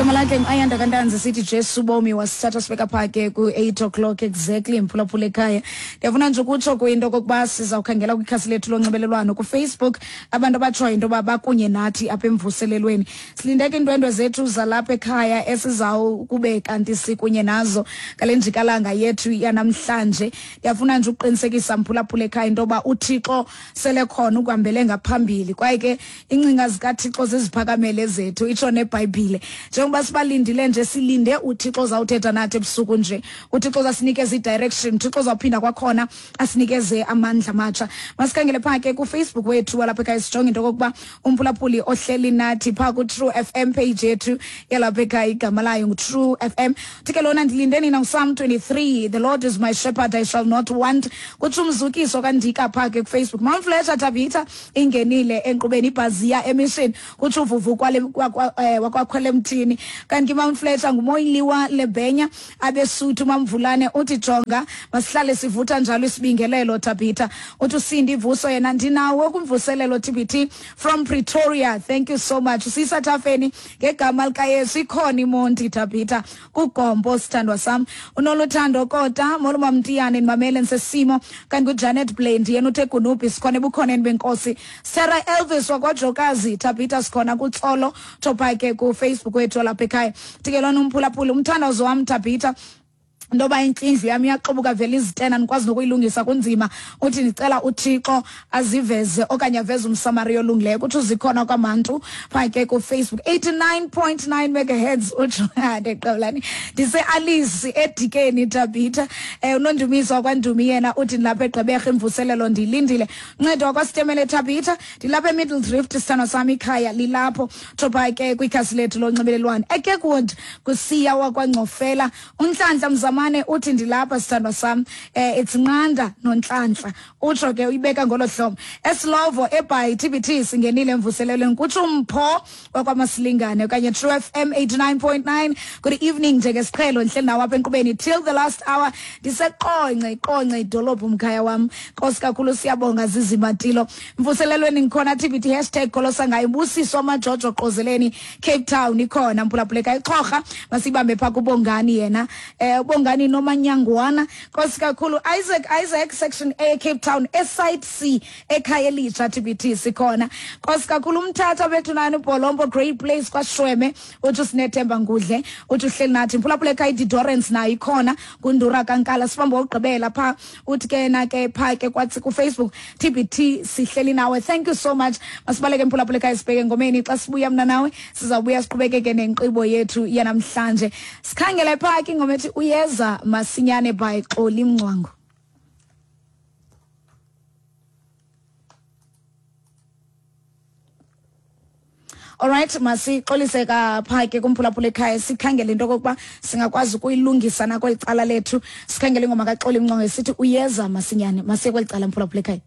Igama lakhe ngu-Ayanda kaNtanzi, sithi Jesu bomi wasithatha sibeka phaa ke ku-8 o'clock exactly, mphulaphula ekhaya. Ndiyafuna nje ukutsho kwinto okokuba sizawukhangela kwikhasi lethu lonxibelelwano kuFacebook, abantu abatshoyo into yoba bakunye nathi apha emvuselelweni. Silindeke iindwendwe zethu zalapha ekhaya esizawukube kanti sikunye nazo ngale njikalanga yethu yanamhlanje. Ndiyafuna nje ukuqinisekisa mphulaphula ekhaya into yoba uThixo sele khona ukuhambele ngaphambili, kwaye ke ingcinga zikaThixo ziziphakamele zethu, itsho neBhayibhile. Njengoba sibalindile nje, silinde uThixo ozawuthetha nathi ebusuku nje. UThixo uzasinikeza i-direction, uThixo uzawuphinda kwakhona asinikeze amandla amatsha. Masikhangele phaa ke kuFacebook wethu walapha ekhaya, sijonge into okokuba umphulaphuli ohleli nathi phaa ku-True FM page yethu yalapha ekhaya, igama layo ngu-True FM. Uthi ke lona, ndilinde nina nguPsalm 23, the Lord is my shepherd, I shall not want. Kutsho umzukiso kaNdika phaa ke kuFacebook. Mount Fletcher Tabitha ingenile enkqubeni ibhaziya emission, kutsho uvuvu wakwakhwela emthini. Kanti Mount Fletcher nguMoyiliwa Lebhenya abesuthu. Mamvulane uthi jonga, masihlale sivutha njalo isibingelelo. Tabitha uthi uSindi Vuso yena, ndinawo kumvuselelo TBT from Pretoria, thank you so much. Sisa Thafeni, ngegama likaYesu ikhona iMonti. Tabitha kugombo, sithandwa sam. Unoluthando Kota, molo Mamtiyane, ndimamele ndisesimo. Kanti kuJanet Blend yena uthe Gunubhi, sikhona ebukhoneni benkosi. Sarah Elvis wakwaJokazi, Tabitha sikhona kuTsolo Thopa ke kuFacebook wethu lapha ekhaya. Tikelwana umphulaphula, umthandazo wam Tabitha ntoba intlindlu yam iyaxubuka vele izitena, ndikwazi nokuyilungisa kunzima. Uthi ndicela uThixo aziveze okanye aveze umsamariya olungileyo. Kuthi uzikhona kwamantu phaa ke kuFacebook, 89.9 megahertz. Utsho ndiqabulani, ndise-Alice eDikeni. Tabitha, unondumiso wakwaNdumi yena uthi ndilapha eGqeberha, imvuselelo ndiyilindile. Ncedo wakwasitemele, Tabitha ndilapha eMiddle Drift, sithandwa sam, ikhaya lilapho. Thopha ke kwikhasi lethu lonxibelelwano eKirkwood kusiya wakwaNgcofela. UNhlanhla Mzamane uthi ndilapha sithandwa sam, it's Nqanda noNhlanhla, utsho ke uyibeka ngolo hlobo. Esilovo eBhayi, TBT singenile emvuselelweni, kutsho uMpho wakwamasilingane. Okanye True FM 89.9, good evening, njengesiqhelo ndihleli nawo apha enkqubeni till the last hour. Ndiseqonce, iQonce idolophu mkhaya wam. Nkosi kakhulu, siyabonga zizimatilo. Mvuselelweni ngikhona TBT, #kholosa ngayo. Busiso amajojo qozeleni, Cape Town ikhona mphulaphuleka. Ixhorha masibambe phaa kubongani yena, ubongani nomanyangwana. Nkosi kakhulu. Isaac Isaac, section A, Cape Town, esite C, ekhaya elitsha, TBT sikhona. Nkosi kakhulu. Umthatha bethu nani ubholompo, great place kwaShweme, uthi sinethemba ngudle, uthi uhleli nathi mphulaphuleka. IDidorence nayo ikhona kundura kankala. Sibambe wokugqibela phaa, uthi ke na ke phaa ke kwathi kuFacebook, TBT sihleli nawe, thank you so much. Masibaleke mphulaphuleka, sibheke engomeni. Xa sibuya mna nawe sizawubuya siqhubekeke nenkqibo yethu yanamhlanje. Sikhangele phaa ke ingoma ethi Uyeza Masinyane by Xoli Mncwango. Alright, masixolise kapha ke kumphulaphula ekhaya, sikhangele into okokuba singakwazi ukuyilungisa nakweli cala lethu. Sikhangele ingoma kaXoli Mncwango esithi Uyeza Masinyane. Masiye kweli cala, mphulaphula ekhaya.